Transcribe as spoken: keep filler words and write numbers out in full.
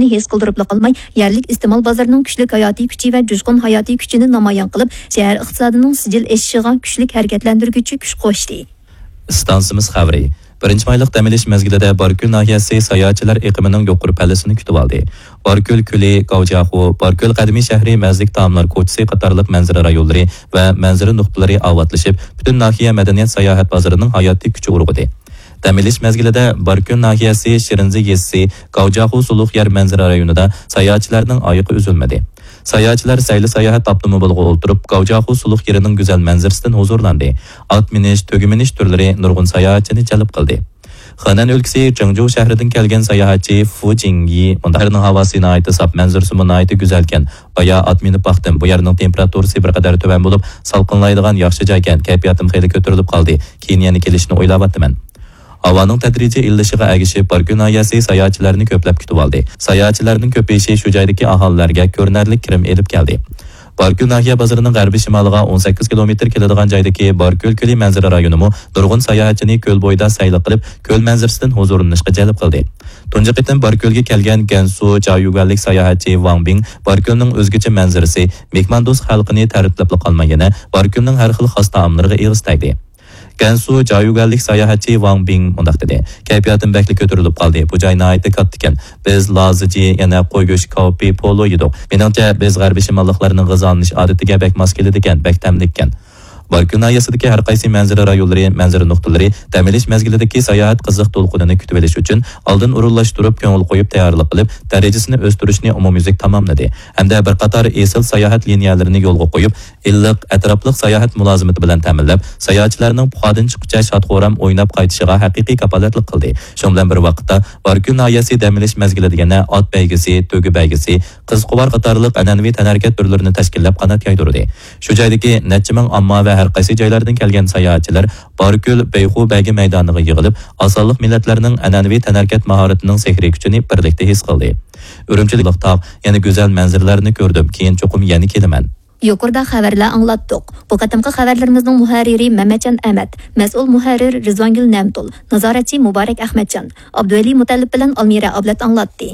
ھېس قىلدۇرۇپلا قالماي، يەرلىك ئىستېمال بازىرىنىڭ كۈچلۈك ھاياتىي كۈچى ۋە جۇشقۇن ھاياتىي كۈچىنى نامايان قىلىپ، شەھەر ئىقتىسادىنىڭ سىجىل ئېشىشىغا كۈچلۈك ھەرىكەتلەندۈرگۈچى كۈچ قوشتى. ئىستانسىمىز خەۋىرى. بىرىنچى مايلىق دەم ئېلىش مەزگىلىدە باركۆل ناھىيەسى ساياھەتچىلەر ئېقىمىنىڭ يۇقىرى پەللىسىنى كۈتۈۋالدى. باركۆل كۆلى، گاۋجياخۇ، باركۆل قەدىمىي شەھىرى، مەززىلىك تائاملار كوچىسى قاتارلىق مەنزىرە رايونلىرى ۋە مەنزىرە نۇقتىلىرى ئاۋاتلىشىپ، پۈتۈن ناھىيە مەدەنىيەت ساياھەت بازىرىنىڭ ھاياتىي كۈچى ئۇرغۇدى. دەم ئېلىش مەزگىلىدە باركۆل ناھىيەسى شىرىنزى يېزىسى، گاۋجياخۇ سۇلۇق يەر مەنزىرە رايونىدا ساياھەتچىلەرنىڭ ئايىقى ئۈزۈلمىدى. ساياھەتچىلەر سەيلە ساياھەت ئاپتوموبىلىغا ئولتۇرۇپ، گاۋجياخۇ سۇلۇق يېرىنىڭ گۈزەل مەنزىرىسىدىن ھۇزۇرلاندى. ئات مىنىش، تۆگە مىنىش تۈرلىرى نۇرغۇن ساياھەتچىنى جەلپ قىلدى. خېنەن ئۆلكىسى جېڭجۇ شەھىرىدىن كەلگەن ساياھەتچى فۇ جىڭيى مۇنداق: شەھەرنىڭ ھاۋاسى ناھايىتى ساپ، مەنزىرىسىمۇ ناھايىتى گۈزەلكەن. بايا ئات مىنىپ باقتىم، بۇ يەرنىڭ تېمپېراتۇرىسى بىر قەدەر تۆۋەن بولۇپ، سالقىنلايدىغان ياخشى جايكەن، كەيپىياتىم خېلى كۆتۈرۈلۈپ قالدى. كېيىن يەنە كېلىشنى ئويلاۋاتىمەن. ھاۋانىڭ تەدرىجىي ئىللىشىغا ئەگىشىپ، باركۆل ناھىيەسى ساياھەتچىلەرنى كۆپلەپ كۈتۈۋالدى. ساياھەتچىلەرنىڭ كۆپىيىشى شۇ جايدىكى ئاھالىلەرگە كۆرۈنەرلىك كىرىم ئېلىپ كەلدى. باركۆل ناھىيە بازىرىنىڭ غەربىي شىمالىغا ئون سەككىز كىلومېتىر كېلىدىغان جايدىكى باركۆل كۆلى مەنزىرە رايونىمۇ نۇرغۇن ساياھەتچىنى كۆل بويىدا سەيلە قىلىپ، كۆل مەنزىرىسىدىن ھۇزۇرلىنىشقا جەلپ قىلدى. تۇنجى قېتىم باركۆلگە كەلگەن گەنسۇ جايۈگۈەنلىك ساياھەتچى ۋاڭ بىڭ باركۆلنىڭ ئۆزگىچە مەنزىرىسى مېھماندوست خەلقىنى تەرىپلەپلا قالماي، يەنە باركۆلنىڭ ھەر خىل خاس تائاملىرىغا ئېغىز تەگدى. گەنسۇ جايۈگۈەنلىك ساياھەتچى ۋاڭ بىڭ مۇنداق دېدى: كەيپىياتىم بەكلا كۆتۈرۈلۈپ قالدى. بۇ جاي ناھايىتى كاتتىكەن. بىز لازىجى، يەنە قوي گۆشى، كاۋپى، پولۇ يېدۇق. مېنىڭچە، بىز غەربىي شىماللىقلارنىڭ غىزالىنىش ئادىتىگە بەك ماس كېلىدىكەن، بەك تەملىككەن. باركۆل ناھىيەسىدىكى ھەر قايسى مەنزىرە رايونلىرى، مەنزىرە نۇقتىلىرى دەم ئېلىش مەزگىلىدىكى ساياھەت قىزىق دولقۇنىنى كۈتۈۋېلىش ئۈچۈن ئالدىن ئورۇنلاشتۇرۇپ، كۆڭۈل قويۇپ تەييارلىق قىلىپ، دەرىجىسىنى ئۆستۈرۈشنى ئومۇميۈزلۈك تاماملىدى ھەمدە بىر قاتار ئېسىل ساياھەت لىنىيەلىرىنى يولغا قويۇپ، ئىللىق، ئەتراپلىق ساياھەت مۇلازىمىتى بىلەن تەمىنلەپ، ساياھەتچىلەرنىڭ پۇخادىن چىققۇچە شاد-خۇرام ئويناپ قايتىشىغا ھەقىقىي كاپالەتلىك قىلدى. شۇنىڭ بىلەن بىر ۋاقىتتا، باركۆل ناھىيەسى دەم ئېلىش مەزگىلىدە يەنە ئات بەيگىسى، تۆگە بەيگىسى، قىزقۇۋار قاتارلىق ئەنئەنىۋى تەنھەرىكەت تۈرلىرىنى تەشكىللەپ قانات يايدۇردى. شۇ جايدىكى نەچچە مىڭ ئامما ۋە ھەر قايسى جايلاردىن كەلگەن ساياھەتچىلەر باركۆل بەيخۇ بەيگە مەيدانىغا يىغىلىپ، ئاز سانلىق مىللەتلەرنىڭ ئەنئەنىۋى تەنھەرىكەت ماھارىتىنىڭ سېھرىي كۈچىنى بىرلىكتە ھېس قىلدى. ئۈرۈمچىلىك تاغ، يەنە گۈزەل مەنزىرىلەرنى كۆردۈم، كېيىن چوقۇم يەنە كېلىمەن. يۇقىرىدا خەۋەرلەر ئاڭلاتتۇق. بۇ قېتىمقى خەۋەرلىرىمىزنىڭ مۇھەررىرى مەمەتجان ئەمەت، مەسئۇل مۇھەررىر رىزۋانگۈل نەمتۇل، نازارەتچى مۇبارەك ئەخمەتجان، ئابدۇۋەلى مۇتەللىپ بىلەن ئالمىرە ئابلەت ئاڭلاتتى.